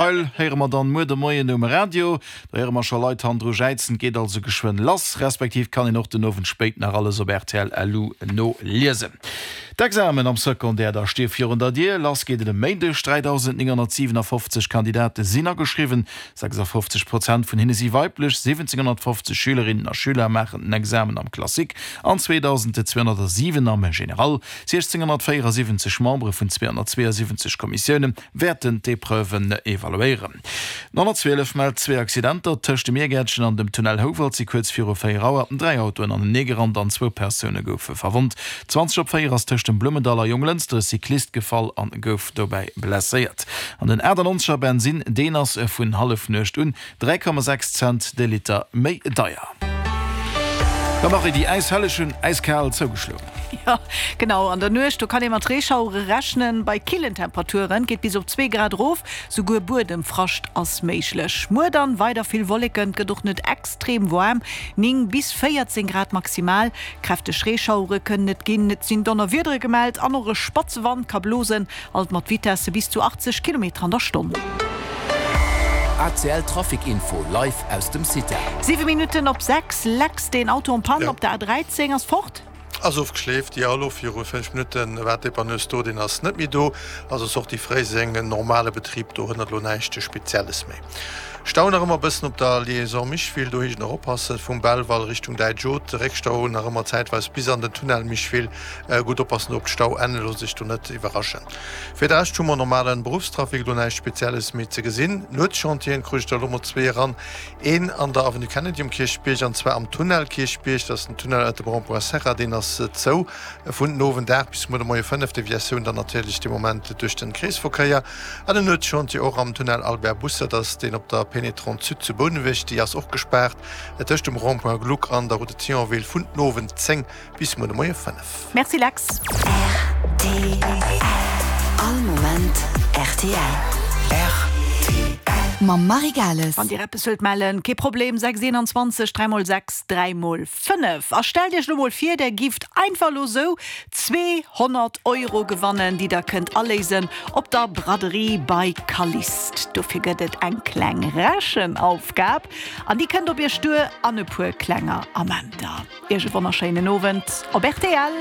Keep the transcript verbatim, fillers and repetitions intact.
Detail héiere mer dann muer de Moien um Radio. Do héiere mer scho Leit hannendru jäizen, et geet also geschwënn lass, respektiv kann een och den Owend spéit nach alles op rtl Lu noliesen. D'Examen am Secondaire da sti virun der Dier. Lass geet et e Méindeg. dräidausendnénghonnertsiwenafofzeg Kandidate sinn ageschriwwen, sechsafofzeg Prozent vun hinne si weiblech. Siwwenzénghonnertfofzeg Schülerinnen a Schüler maachen den Examen am Classique an zweedausendzweehonnertsiwen am Général. Siechzénghonnertvéierasiwwenzeg Membere vun zweehonnertzweeasiwwenzeg Kommissioune wäerten d'Epreuven evaluéieren. Den honnertzwielef mellt zwee Accidenter. Tëscht dem Miergäertchen an dem Tunnel Houwald si kuerz viru véier Auer dräi Autoen aneneegerannt an zwou Persoune goufe verwonnt. Zwanzeg op véier ass tëscht dem Blummendall a Jonglënster e Cyclist gefall an gouf dobäi blesséiert. An den achtannonzeger Bensinn, deen ass vun Hallefnuecht un dräi Komma sechs Cent de Liter méi deier. Da Marie, déi Äishelleg hunn äiskal zougeschloen. Jo, genau, an der Nuecht, do kann ee mat Reeschauere rechnen. Bei killen Temperaturen, geet bis op zwee Grad erof, souguer Buedemfrascht ass méiglech. Muer dann weider vill Wolleken, et gëtt och net extrem waarm, néng bis véierzéng Grad maximal. Kräfteg Reeschauere kënnen et ginn, et sinn Donnerwiedere gemellt an och e spatze Wand ka blosen, alt mat Vitesse bis zu achtzeg Kilometer an der Stonn. A C L Trafic Info live aus dem CITEL. Siwe Minutten op sechs, Lex, deen Auto en panne op der A dräizéng ass fort? Ass ofgeschleeft, jo. Elo viru fënnf Minutte war d'Dépanneuse do, deen ass net méi do. Also Sortie Fréiseng, normale Betrib, do hënnert elo näischt Spezielles méi. Stau nach ëmmer e bëssen op der Liaison Micheville, do heescht et nach oppassen, vum Belval Richtung Däitsch Haute, Réckstau nach ëmmer zäitweis bis an den Tunnel Micheville. Gutt oppassen do op d'Stauenn, looss sech do net iwwerraschen. Fir de Rescht hu mer normalen Beruffstrafic, elo näischt Spezielles méi ze gesinn. Nuetschantieren krut ech der elo mol zwee eran, een an der Avenue Kennedy um Kierchbierg an zwar am Tunnel Kierchbierg, dat ass den Tunnel ënnert dem Rond-point Serra, deen ass zou vun den Owend aacht bis muer de Moie fënnef, Deviatioun dann natierlech dee Moment duerch den Kreesverkéier. An en Nuetschantier och am Tunnel Albert Busser, dat ass deen op der Pénétrante Sud zu Bouneweg, déi ass och gespaart tëscht dem Rond-point Gluck an der Route de Thionville vun den Owend zéng bis muer de Moie fënnef. Merci Lex. R T L. All Moment R T L. R T L. Mam Marie Gales. Wann Dir eppes wëllt mellen, kee Problem, sechs eenanzwanzeg dräi mol sechs dräi mol fënnef. A stellt Iech lo mol vir, Der gifft einfach lo sou zweehonnert Euro gewannen, déi Der kënnt aléisen op der Braderie bei Calliste. Dofir gëtt et eng kleng Rechenaufgab an déi kënnt op Iech duer an e puer klenger Amenter. Iech e wonnerschéinen Owend op R T L.